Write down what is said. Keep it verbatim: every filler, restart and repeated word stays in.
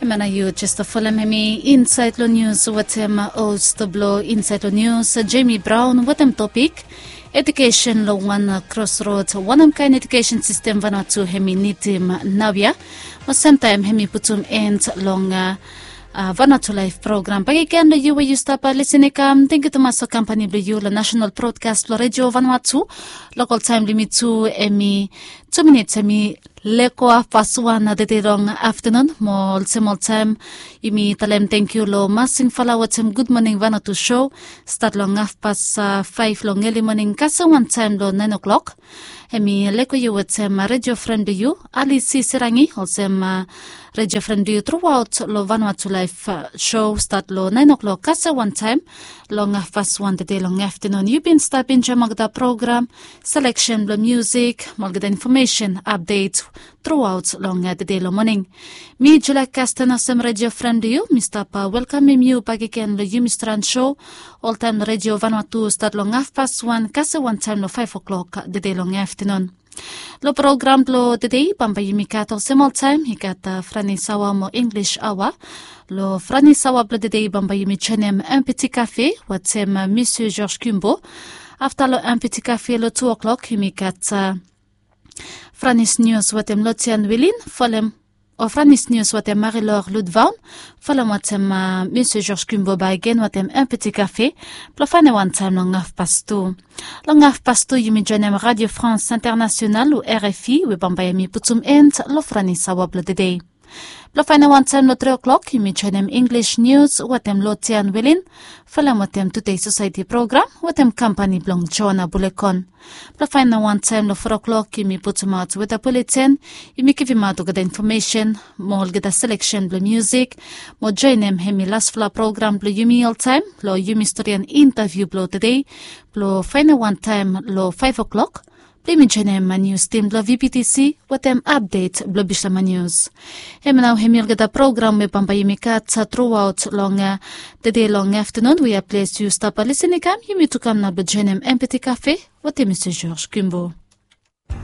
Mana yu jes folem hemi insaed long nius wetem host blong insaed long nius, Jemi Braon, wetem topik edukesen long wan krosrod. Wanem kaen edukesen sistem Vanuatu hemi nidim naoia? Mo semtaem hemi putum en long Vanuatu Laef program. Bakegen long yu we yu stap lisin i kam, tenkyu tumas long kampani blong yu long nasenal brodkas blong Redio Vanuatu. Lokol taem blong yumi tu hemi tu minits hemi lego hafpas wan tede long aftanun. Mo olsem oltaem, yumi talem tenkyu long Masing Fala wetem Gud Moning Vanuatu sou, stat long hafpas faef long eli moning kasem wantaem long naen o'klok. Hemi lego yu wetem redio fren blong yu, Alisi Serangi, olsem redio fren blong yu truaot long Vanuatu Laef sou, stat long naen o'klok kasem wantaem long hafpas wan tede long aftanun. Yu bin stap enjoem olgeta program, seleksen blong miusik mo olgeta infomesen, apdet truaot long tede long moning. Mi Julia Kasten, olsem redio fren blong yu, mi stap welkamem yu bakegen long yumi stran sou oltaem long Redio Vanuatu, stat long hafpas wan kasem wantaem long faef o'klok tede long aftanun. Long program blong tede bambae yumi gat olsem oltaem, i gat Franis aoa mo Inglis aoa. Long Franis aoa blong tede bambae yumi joenem Empeti Kafe wetem Misie George Kimbo. Afta long Empeti Kafe long tu o'klok yumi gat Franis nius wetem Lotian Wilin folem o Franis nius wetem Marilor Ludvaon, folem wetem Misie George Kimbo bakegen wetem Empeti Kafe blong faenem wantaem long hafpas tu. Long hafpas tu yumi joenem Radio France International o RFI we bambae yumi putum en long Franis aoa blong tede. Blong faenem wantaem long tri o'klok yumi joenem Inglis nius wetem Lotian Wilin, folem wetem Tude Sosaeti program wetem kampani blong Joana Bulekon. Blong faenem wantaem long fo o'klok yumi putumaot weta buleten, yumi givimaot olgeta infomesen mo olgeta seleksen blong miusik, mo joenem hemi lasfala program blong yumi oltaem long yumi storian intaviu blong tede, blong faenem wantaem long faef o'klok blong yumi joenem nius tim blong VPTC wetem apdet blong Bislama Nius. Hemia nao hemi olgeta program we bambae yumi gat truaot long tede long aftanun. Wea ples yu stap lisin i kam, yumi tu kam nao blong joenem Empeti Kafe wetem Misie George Kimbo.